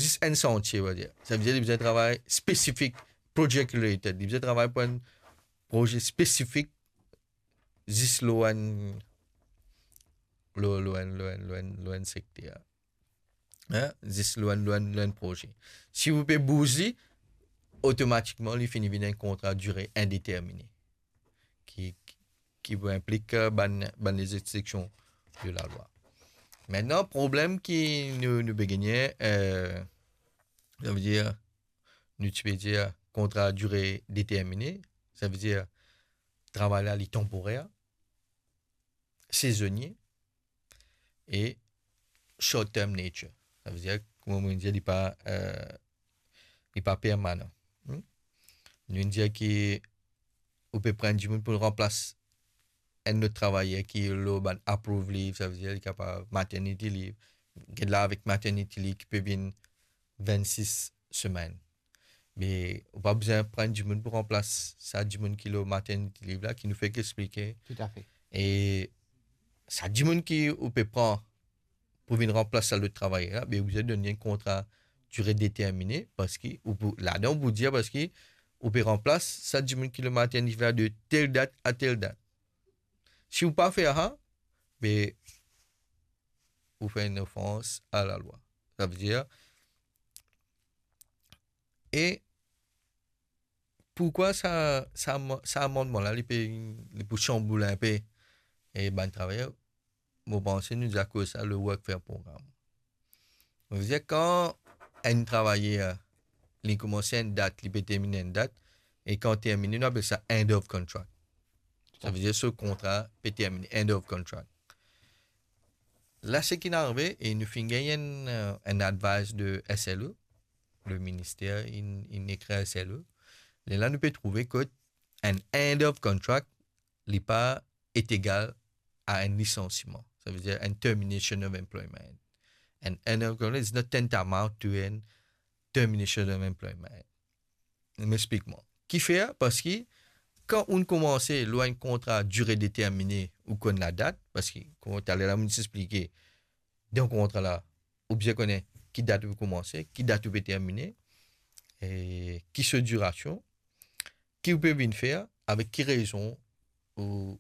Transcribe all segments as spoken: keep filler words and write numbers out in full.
zis enn santie, on va dir. Savedir li bizin travay spesifik, project related. Li bizin travay pou enn proze spesifik, zis lor enn, lor, lor enn, lor enn, lor enn, lor enn sekter. Hein? Zis lor enn, lor enn, lor enn proze. Si ou pe bouz li, otomatikman li fini vinn enn kontra dire indetermine. Ki, ki, ki pou inplik, euh, bann, bann lezekseksion de lalwa. Aster, problem ki nou, nou pe gagne, euh, savedir, nou ti pe dir kontra dire determine, savedir travay la li tanporer, sezonie e short term nature. Savedir, kouma mo dir, li pa, euh, li pa permanan. Hmm? Nou dir ki ou pe pran dimoun pou ranplas enn lot travayer ki lor bann approved leave, savedir li kapav maternity leave. Get la avek maternity leave ki pe vinn vennsis semenn. Me ou pa bizin pran dimoun pou ranplas sa dimoun ki lor maternity leave la, ki nou fek explike. Toutafe. E sa dimoun ki ou pe pran pou vinn ranplas sa lot travayer la, be ou bizin donn li enn kontra dire determine, parski ou pou, ladan ou pou dir, parski ou pe ranplas sa dimoun ki lor maternity leave la de tel dat a tel dat. Si ou pa fer sa, be ou fer enn ofans a lalwa. Savedir, e poukwa sa, sa, sa amannman la, li pe, li pou chanboul inpe, e bann travayer, mo panse nou deza koz sa, le workfare program. Savedir, kan enn travayer, li koumans enn dat, li pe termine enn dat, e kan termine, nou apel sa end of contract. Savedir, so kontra pe termine, end of contract. La, seki arive, e nou finn gagn enn, euh, enn advice de S L O, le minister, inn, inn ekrir S L O. Lerla nou pe trouve kot enn end of contract, li pa est égal à un licenciement. Savedir un termination of employment. And an end of contract is not tantamount to an termination of employment. Mo explik mwa. Kifer? Parski kan ou koumanse lor enn kontra dire determine, ou konn ladat, parski kouma taler la mo ti explike, dan kontra la, ou bizin kone ki dat ou koumanse, ki dat ou pe termine, e ki so dirasion, ki ou pe vinn fer, avek ki rezon ou,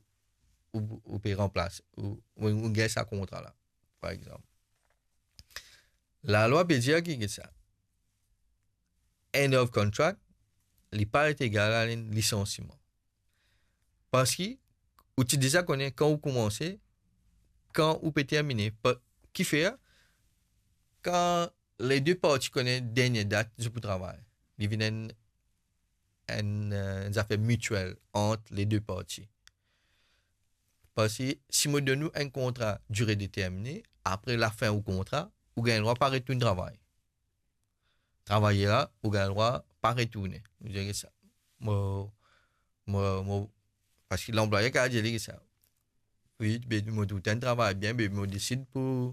ou, ou pe ranplas, ou, ou, ou gagn sa kontra la, par exanp. Lalwa pe dir ki, ki sa, end of contract, li pa est égal à un licenciement. Parski ou ti deza kone kan ou koumanse, kan ou pe termine. Pa, kifer? Kan le de parti kone dernie dat zot pou travay, li vinn enn, enn, euh, enn zafer mitiel ant le de parti. Parski si mo donn ou enn kontra dire determine, apre lafin ou kontra, ou gagn drwa pa retourn travay. Travayer la, ou gagn drwa pa retourne. Mo dir sa. Mo, mo, mo, parski lanplwayer kapav dir li sa. Wi, be mo trouv twa enn travay bien, be mo desid pou,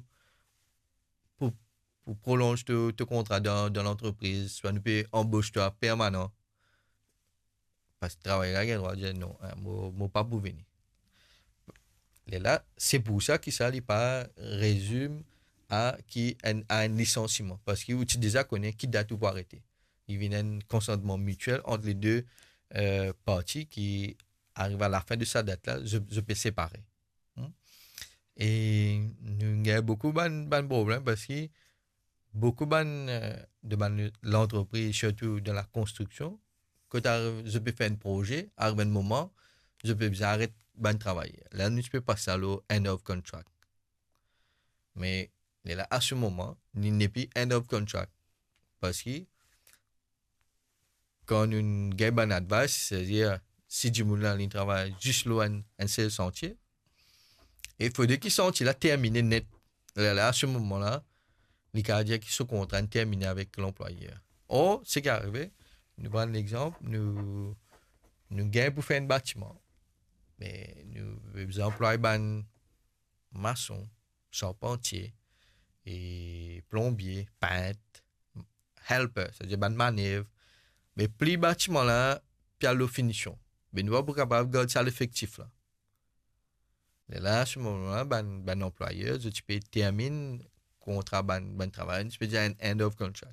pou, pou prolonz to, to kontra dan, dan lantrepriz, swa nou pe anbos twa permanan. Parski travayer la gagn drwa dir non, hein, mo, mo pa pou vini. Lerla, se pou sa ki sa li pa rezime a ki enn, a enn lisansiman, parski ou ti deza kone ki dat ou pou arete. Li vinn enn konsantman mitiel ant le de, euh, parti ki ariv a lafin de sa dat la, zot, zot pe separe. Hmm? E nou gagn boukou bann, bann problem, parski boukou bann, euh, de bann lantrepriz, sirtou dan lakonstriksion, kot ariv, zot pe fer enn proze, ariv enn moman, zot pe bizin aret bann travayer. La, nou ti pe pas sa lor end of contract. Me lerla, a se moman, li nepli end of contract. Parski kan nou gagn bann advice, setadir si dimoun la, li travay zis lor enn, enn sel santie, e fode ki santie la termine net. Lerla, a se moman la, li kapav dir ki so kontra inn termine avek lanplwayer. Or, seki arive, nou pran enn lexanp, nou, nou gagn pou fer enn batiman. Me nou bizin anplway bann mason, sarpantie, e plonbie, pint, helper, setadir bann manev. Me pli batiman la pe al lor finision. Me nou pa pou kapav gard sa lefektif la. Lerla, a se moman la, bann, bann anplwayer, zot ti pe termine kontra bann, bann travayer, ti pe dir enn end of contract.